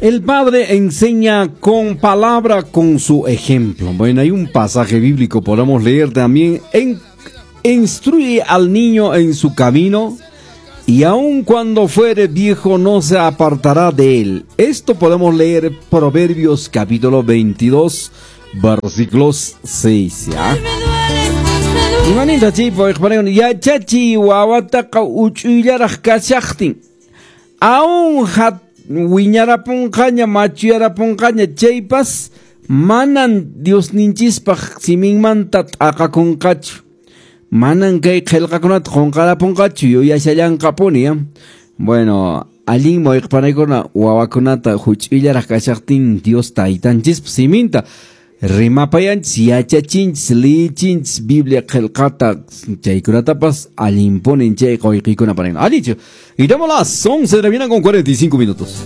El padre enseña con palabra, con su ejemplo. Bueno, hay un pasaje bíblico, podemos leer también. Instruye al niño en su camino, y aun cuando fuere viejo no se apartará de él. Esto podemos leer Proverbios capítulo 22, versículos 6. ¿Ya? Imaninta chaypa yachachiy wawataqa uch'uyllaraq kashaqtin aún wiñarapunqaña machuyarapunqaña chaypas manan Diosninchispaq siminmanta t'aqakunqachu, manan kay qillqakunata qunqarapunqachu, yuyashallanqapuni ya. Bueno, allinmi wayqipanaykuna wawakunata huch'uyllaraq kashaqtin Dios taytanchispa siminta rimapayanchis, yachachinchis, liyichinchis Biblia qillqata, chaykunatapas allinpunin chay quyqikuna paran. Allichu. Y damos las 11 de la mañana con 45 minutos.